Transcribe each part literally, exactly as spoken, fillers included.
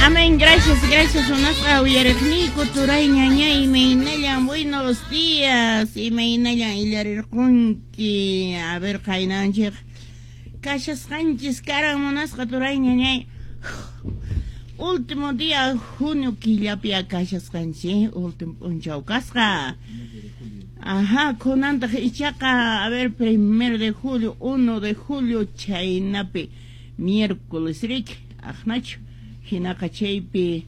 Amén, gracias, gracias. Munasqa uyariqniyku turay ñañay, imaynallan, buenos días, imaynallan illarirqunki. A ver, qaynanchik kashasqanchis karan, munasqa turay ñañay. Último día junio killapi kashasqanchis, último p'unchaw kasqa. Ajá, kunantaq ichaqa, a ver, primero de julio, uno de julio, chaynapi miércoles riki, aqnachu. Hinaqa chaypi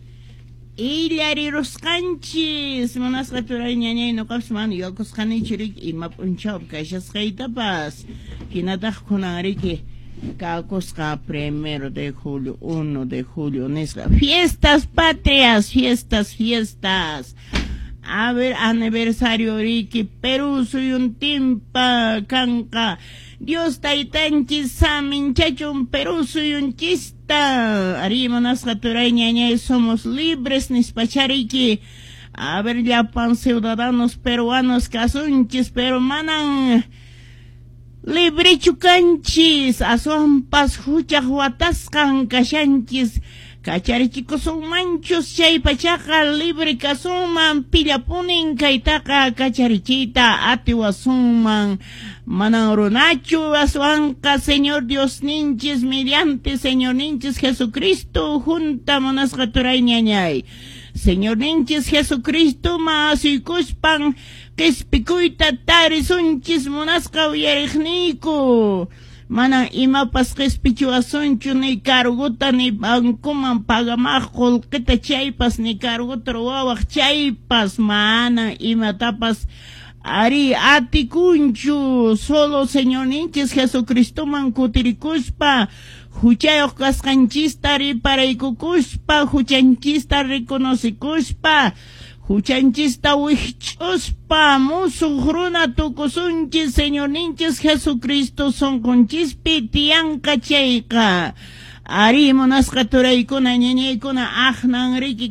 illarirusqanchis, munasqa turay ñañay, nuqapas mana yuyakusqanichu riki ima p'unchawpi kashasqaytapas. Hinataq kunan riki kakusqa primero de julio, uno de julio nisqa. Fiestas patrias, fiestas, fiestas. A ver, aniversario riki, Perú suyuntinpa kanqa. Dios taytanchis saminchachun Perú suyunchista. Ari, munasqa turay ñañay, somos libres nispachariki. A ver, llapan ciudadanos peruanos kasunchis, pero manan librechu kanchis, aswanpas huchaq watasqan kashanchis. Kacharichikusunmanchus chay pachaqa libre kasunman, pillapunin kaytaqa kacharichiyta atiwasunman. Manan runachu, aswanqa Señor Diosninchis mediante Señorninchis Jesucristo junta, munasqa turay ñañay. Señorninchis Jesucristo ma asuykuspan qispikuyta tarisunchis, munasqa uyariqniyku. Mana imapas qispichiwasunchu, ni cargota ni bancoman pagamaq qullqita chaypas, ni cargota ruwawaq chaypas, mana imatapas ari atikunchu. Solo Señorninchis Jesucristoman kutirikuspa, huchayuq kasqanchista riparaykukuspa, huchanchista reconocikuspa, huchanchista wikch'uspa, musuq runa tukusunchis, Señorninchis Jesucristo sunqunchispi tiyanqa chayqa. Ari, munasqa turaykuna ñañaykuna, aqnan riki.